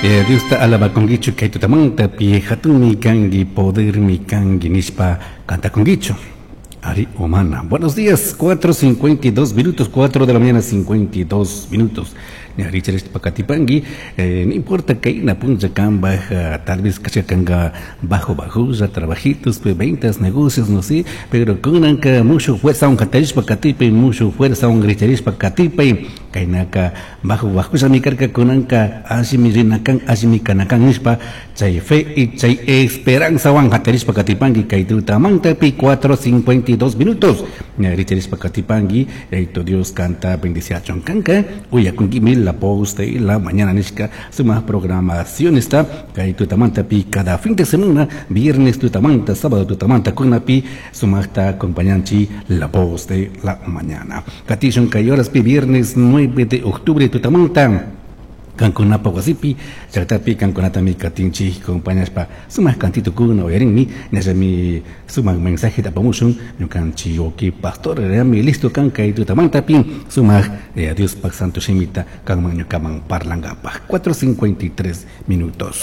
Diosta alabakunkichu kay tutamantapi hatunmi kanki, podermi kanki nishpa cantakunkichu. Ari Omana. Buenos días, 4:52 minutos, 4 de la mañana, 52 minutos. Richard Pacatipangi, no importa que na puncha kan baja, tal vez kanga bajo bajo, trabajitos, pues, ventas, negocios, no sé, pero kunanka mucho fuerza un katarishpa katipi, mucho fuerza un gricharishpa katipi, kainaka bajo bajo mi karka kunanka ashimi rinakan, ashimi kanakan nishpa, chay fe y chay esperanza wan katarishpa katipangi, kay tutamantapi 4:52 minutos. Richarishpa katipangi, eito Dios canta bendiciachon kanka, uyakunki la voz de la mañana nishka suma programación está kay tutamantapi cada fin de semana, viernes tutamanta, sábado tutamanta kunapi sumaqta acompañanchi la voz de la mañana. Katishun kay horaspi viernes 9 de octubre tutamanta kankunapa wasipi llaqtapi kankunatami katinchik compañaspa sumaq kantitukuna uyarinmi ñallami sumaq mensaje apamushun ñukanchik wawqi pastor rami listo kan kay tutamantapi sumaq Diospaq santo shimita kanman ñukaman parlankapaq. 4:53 minutos.